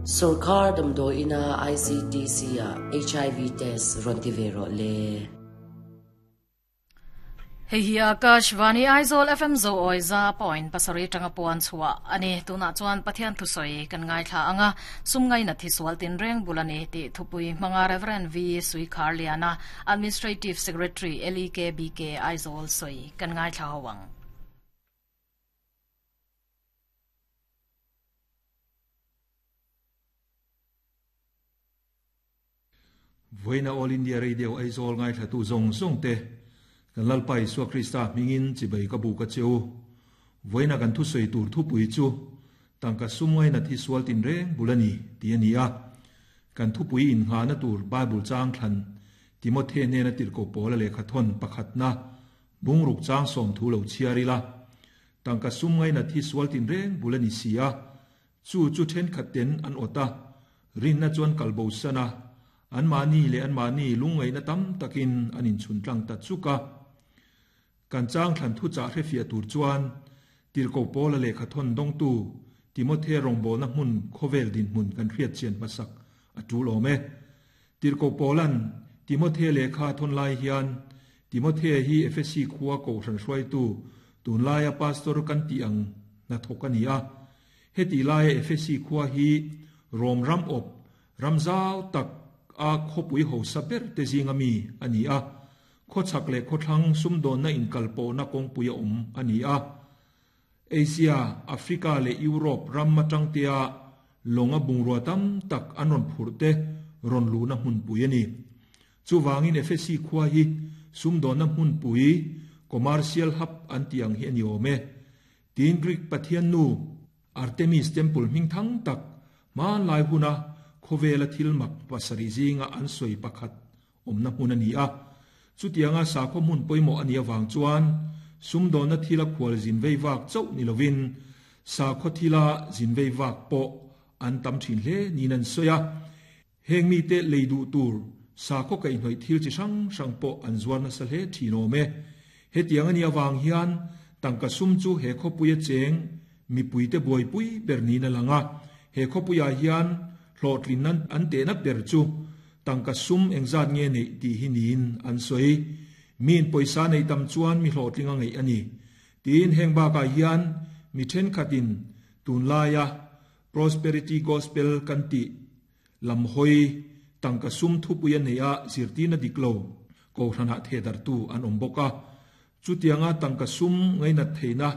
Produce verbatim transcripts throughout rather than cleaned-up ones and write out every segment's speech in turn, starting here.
Sorkar damdawi ina I C T C ah H I V test rawn ti ve rawh le. Hei hi Akashvani Aizawl F M zo oi za point pasarih tanga puan chhuah ani. Tunah chuan Pathian thusawi kan ngaithla anga, sum ngai na thi sual tin reng bulani ti thupui hmanga Reverend V Suikhar Liana, Administrative Secretary, L E K B K Aizawl soi kan ngaithla hawang. Voina All India Radio Aizawl ngai thla tu zong zong te, kan Lalpa Isua Krista mingin chibai ka bu ka cheu. Voina kan thu soi tur thu pui chu tangka sumngai na thi sual tin reng bulani ti ani a. Kan thu pui in nga na tur Bible chang thlan Timothy ne na tir ko pola le khathon pakhat na bungruk chang som thu lo chiari la. Tangka sumngai na thi sual tin reng bulani sia, chu chu then khat ten an ota rin na chuan kalbo sana, an mani le an mani lungai na tam takin anin chun tlang ta chuka. Kan chang thlan thu cha hre fia tur chuan tir ko pola le khathon dong tu Timothy rongbo na hmun khovel din hmun kan hriat chian masak atu lome. Tir ko polan Timothy le kha thon lai hian Timothy hi F S C khuwa ko ran hruai tu, tun laia pastor kan ti ang na thokani a. Heti laia F S C khuwa hi Rom ram op ramzau tak a khopui ho saber te zinga mi ani a. Kho chak le kho thlang sumdon na in kalpo na kong puya um ani a. Asia, Africa le Europe ram matang tia longa bungrua tam tak anon phurte ron lu na hmun pui ani. Chu wangin F S C khuwa hi sumdon na hmun pui, commercial hub an tiang hi ani ome. Tin Greek pathian nu Artemis temple ming thang tak man lai huna khowela thil mak pasari zinga an soi pakhat omna hmun ani a. Chutianga sakhaw hmun pawimawh ani awang chuan sumdawn na thila khual zin vei vak chauh ni lovin sakhaw thila zin vei vak pawh an tam thin hle niin an sawi a. Heng mite lei duh tur sakhaw kaihhnawih thil chi hrang hrang pawh an zuar nasa hle thin awm e. Hetiang ani awang hian tangka sum chu he khawpuia cheng mipuite buaipui ber niin a lang a. He khawpuiah hian hlawhtlin nan an tehna ber chu tangka sum engzat nge neih tih hi niin an sawi. Min pawisa nei tam chuan mi hlawhtling a ngaih ani. Tin heng bakah hian mi thenkhatin tunlaia prosperity gospel kan tih lam hawi tangka sum thupui a nei a zirtirna dik lo kohhranah thehdartu an awm bawk a. Chutianga tangka sum ngainat theihna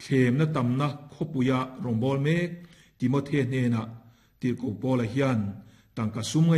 thlemna tamna khawpuia rawngbâwl mek Timothy hnenah tirhkoh Paula hian tangka sum ngai